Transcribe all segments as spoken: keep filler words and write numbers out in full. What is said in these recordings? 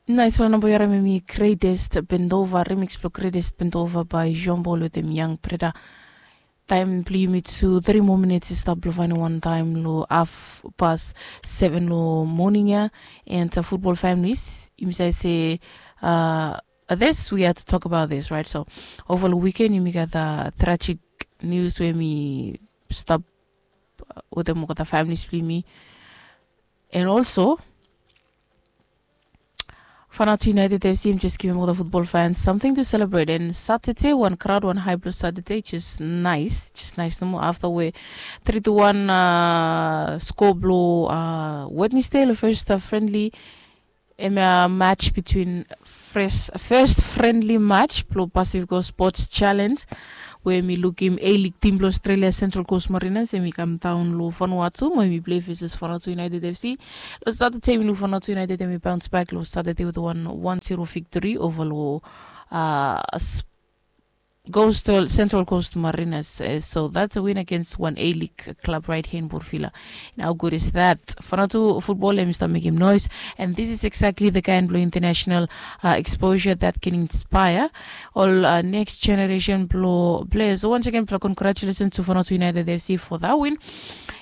Naisfala namba yu harim em i Greatest Bendova, remix blong Greatest Bendova by Jean Paul wetem Young Preda. Taem blong yumi tu three more minutes i stap blong faenem wan taem long haf pas seven long moning ya. And uh, football families, yumi save se uh, this we had to talk about this, right? So over long weekend yumi gat uh, tragic news we mi stap uh, wetem olgeta families blong yumi. And also Fanatu United F C im just givim olgeta football fans something to celebrate. And Saturday wan crowd wan high blue Saturday, just nice, just nice nomo after we three to one uh, score blong uh, Wednesday long first uh, friendly. Em uh, match between first, first friendly match blong Pacific Coast Sports Challenge, we mi lukim A-League team blong Australia, Central Coast Mariners, em i kam daon long Vanuatu mo em i play versus Vanuatu United F C. Long Saturday mi luk Vanuatu United em i bounce back long Saturday with one one zero victory over long uh, Coastal, Central Coast Mariners. Uh, so that's a win against one A-League club right here in Porfila. And how good is that? Fanatu football em start mekim noise, and this is exactly the kind blong international uh, exposure that can inspire all uh, next generation blong players. So once again, congratulations to Fanatu United F C for that win.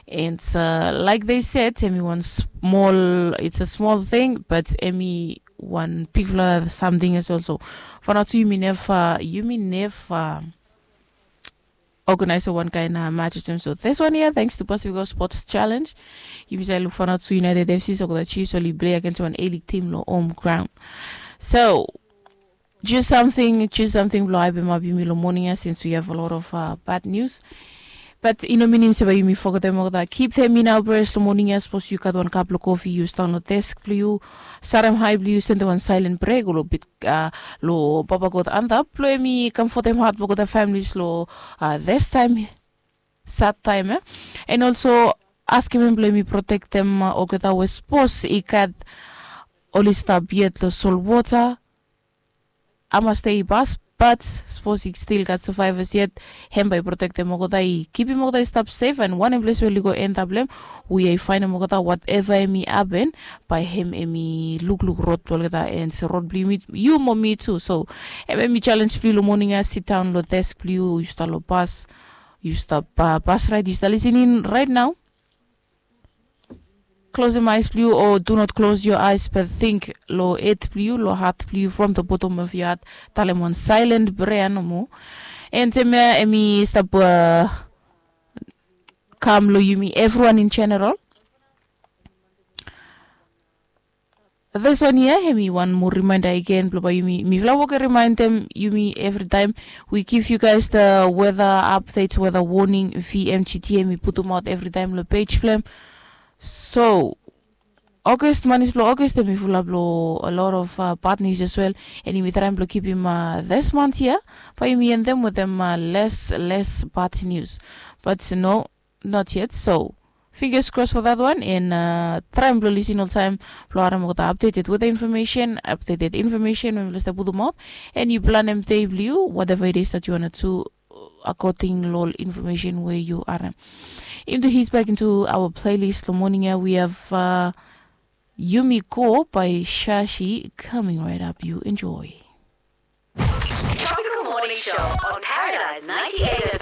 And uh, like they said, em i wan small, it's a small thing, but em i wan bigfala samting as well. So Fanatu, yumi neva, yumi neva organize wan kaen uh, match olsem. So this one here, thanks to Pacific Sports Challenge, yumi save luk Fanatu United F C, so olgeta Chiefs oli play against wan A-League team long home ground. So choose something, choose something blong haepemap yumi long moning ya, since we have a lot of uh, bad news. But i no minim se bae yumi fogetem olgeta. Keep them in our prayers long moning ya. Sapos yu gat wan kap blong kofi, yu sidaon long desk blong yu, sarem hae blong yu, sendem wan silent prayer go long bit uh, long Papa God antap blong em i comfortem heart blong olgeta families long uh, this time, sad time, eh? And also askem em blong em i protektem uh, olgeta we sapos i gat oli stap yet long solwota, hamas dei i pas, but sapos i stil gat survivors yet, hem bae i protektem olgeta, i kipim olgeta i stap sef. And wanem ples we oli go end up long hem, we i faenem olgeta, whatever hem i hapen, bae hem hem i lukluk rod blong olgeta, and se rod blong yumi, yu mo mi tu. So hem hem i challenge blong yu long moning ya, sidaon long desk blong yu, yu stap long bus, yu stap uh, bus ride, yu stap listening right now. Closem eyes blong yu, o do not close your eyes, but think long head blong yu, long heart blong yu, from the bottom of your heart, talem wan silent prayer nomo. And hemia hem i stap uh, kam long yumi, everyone in general. This one here, hem i wan moa reminder again blong bae yumi, mifala wok i remindem yumi evri taem. We give you guys the weather updates, weather warning, V M G T, hem i putum aot evri taem long page blong hem. So August, manis blong August hem i fulap long a lot of uh, bad news as well. And yumi traem blong kipim uh, this month here, bae yumi endem wetem uh, less, less bad news. But no, not yet. So fingers crossed for that one. And uh, traem blong lisin oltaem blong harem olgeta updated weather information, updated information we mifala stap putum aot. And yu planem dei blong yu, whatever it is that you wanna do, according long ol information we yu harem. Into his back into our playlist long moning ya, we have uh, Yumi Go by Shashi coming right up. You enjoy. Tropical Morning Show on Paradise ninety-eight F M.